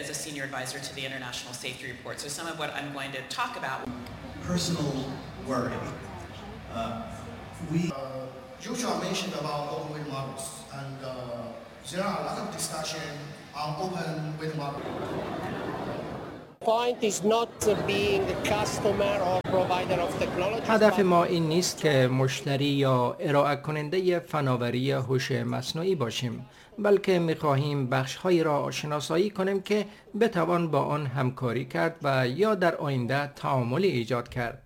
as a senior advisor to the International Safety Report. So some of what I'm going to talk about. Personal worry. We Joshua mentioned about open weight models, and there are a lot of discussion on open weight models. Point is not being a customer or provider of technology. هدف ما این نیست که مشتری یا ارائه کننده فناوری هوش مصنوعی باشیم، بلکه می‌خواهیم بخش‌هایی را شناسایی کنیم که بتوان با آن همکاری کرد و یا در آینده تعاملی ایجاد کرد.